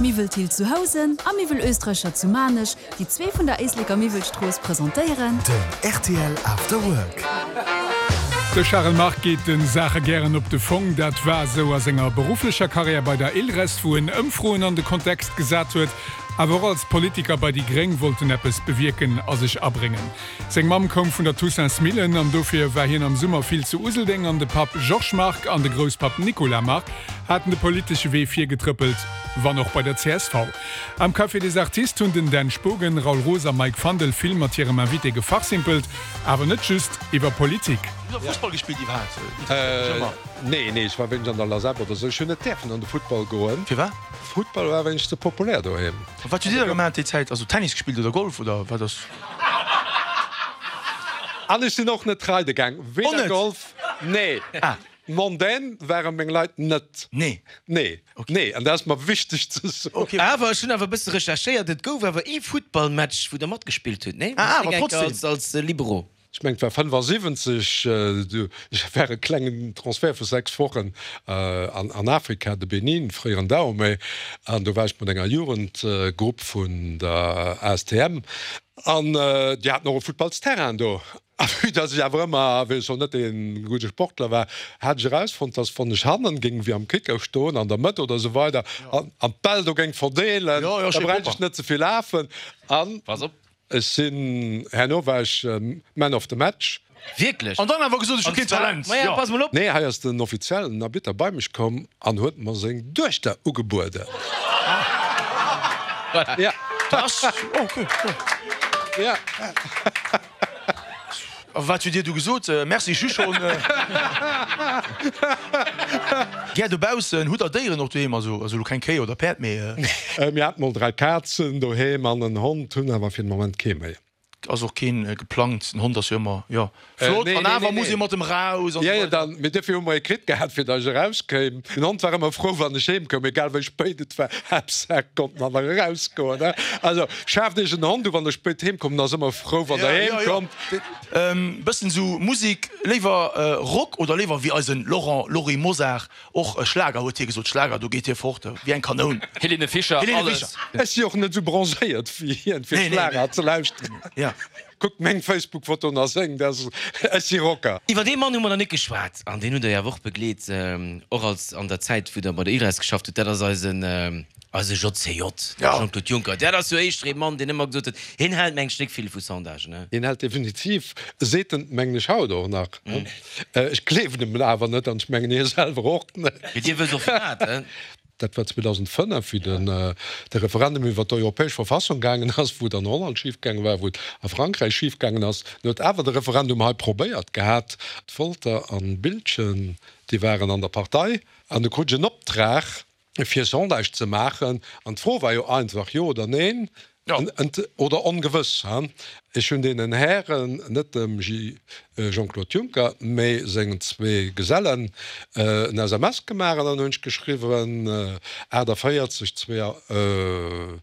Miwwel Thill zu Housen a Miwwel Österreicher zu Maarnech, déi zwee vun der Éisleker Miwwelstrooss, presentéieren. Den rtl After Work. De Charel Margue geet de Saache gären op de Fong. Dat war esou a senger berufflecher Karriär bei der ILRES, wou en Ëmfroen an de Kontext gesat huet. Awer och als Politiker bei déi Gréng wollt en eppes bewierken a sech abréngen. Seng Mamm koum vun der Toussaintsmillen an dofir war hien am Summer vill zu Useldeng an de Papp Georges Margue an de Grousspapp Nicolas Margue haten de politesche Wee virgetrëppelt, wann och bei der csv. Am Café des Artistes hunn den Dan Spogen, Raoul Roos a Mike Fandel vill mat hirem Invité gefachsimpelt, awer net just iwwer Politik. Hutt der Fussball gespillt iwwerhaapt? Nee, nee, ech war wéinst an der Lasep oder sou. Ech hunn net däerfen an de Futtball goen. Firwat? Futtball war wéinst ze populär doheem. A wat hutt Dir da gemaach déi Zäit? Also Tennis gespillt oder Golf oder wat ass? An ech sinn och net reide gaang. Och Weder net? Golf, nee. Ah. Mondaine ware meng Leit net. Nee. Nee, nee, an dat ass mer wichteg ze soen. Okay. Awer ech hunn awer e bësse recherchéiert, et gouf awer ee Futtballmatch, wou Der matgespillt hutt, nee? Ah, awer trotzdem. Als, als Libero. Ech mengen, et war 75, do war e klengen Transfert vu 6 Wochen an Afrika, de Benin, fréieren Dahomey, an do war ech mat enger Jugendgrupp vun der ASTM an déi haten och e Futtballsterrain do. A vue dass ech awer ëmmer, wéi ech schonn net dee gudde Sportler war, hat ech erausfonnt, dass wann ech hannen géing wéi am Kicker stoen, an der Mëtt oder esou weider, an d'Bäll do géing verdeelen, da bräicht ech net ze vill lafen. An ech sinn, herno war ech Man of the Match. Wierklech? An dann awer gesot, ech hu keen Talent. Maja, pass mol op. Nee, hei ass den offiziellen Arbitter bei mech komm an huet mer seng Duechter ugebueden. Voilà. Ja. Das, okay, ja. Ja. A wat hutt Dir du gesot? Merci, ech hu schonn. Gär dobaussen. Hutt Der Déieren och doheem? Also, also elo keng Kéi oder Päerd, mee. Mir haten mol 3 Kazen doheem an en Hond, hunn awer fir den Moment kee méi. Ass och keen geplangt. Den Hond ass jo ëmmer, jo, flott Nee, an nee, awer nee, muss nee. ee mat em raus an Ja, esou ja, weider. dann, mee duerfir hu mer ee kritt gehat, fir datt ech erauskéim. Den Hond war ëmmer frou, wann ech heem koum, egal wéi spéit et war, Haaptsaach konnt en nach erausgoen, ne? Also, schaaft iech en Hond u, wann der spéit heem kommt, en ass ëmmer frou, wann der Ja, heem ja, ja. kommt. Bëssen esou Musik, léiwer Rock oder léiwer wéi eisen Laurent Lory Mosar Och Schlager huet hie gesot, Schlager, do geet hie fort wéi eng Kanoun. Helene Fischer, Helene alles. Fischer. Ech si och net esou bronzéiert wéi hien, fir Nee, nee, Schlager nee. ze lauschteren. Ja. Kuckt meng Facebook-Fotoen a seng, dat ass, ech si Rocker. Iwwer dee Mann hu mer nach net geschwat an deen hutt Der jo awer och begleet, och als an der Zäit wou Der bei der ILRES geschafft hutt, dat ass eisen, eise JCJ, de Jean-Claude Juncker. Dat ass jo éischter ee Mann, deen ëmmer gesot huet, hien hält mengt ech net vill vu Sondagen, ne? Hien hält definitiv, seet en mengen ech haut och nach. Ech gleewen em awer net an ech mengen hie selwer och net. Mee Dir wësst och firwat, he? Dat war 2005, wéi den de Referendum iwwer d'europäesch Verfassung gaangen ass, wou et an Holland schifgaange war, wou et a Frankräich schifgaangen ass. En huet awer de Referendum hei probéiert gehat. Wolter an Biltgen, déi waren an der Partei an du krut ech en Optrag, fir Sondage ze maachen, an d'Fro war jo einfach, Jo oder Neen, oder ongewëss. Ech hunn deenen Hären, net dem Jean-Claude Juncker, mee sengen zwee Gesellen, en SMS gemaach an dann hunn ech geschriwwen, 48, 2.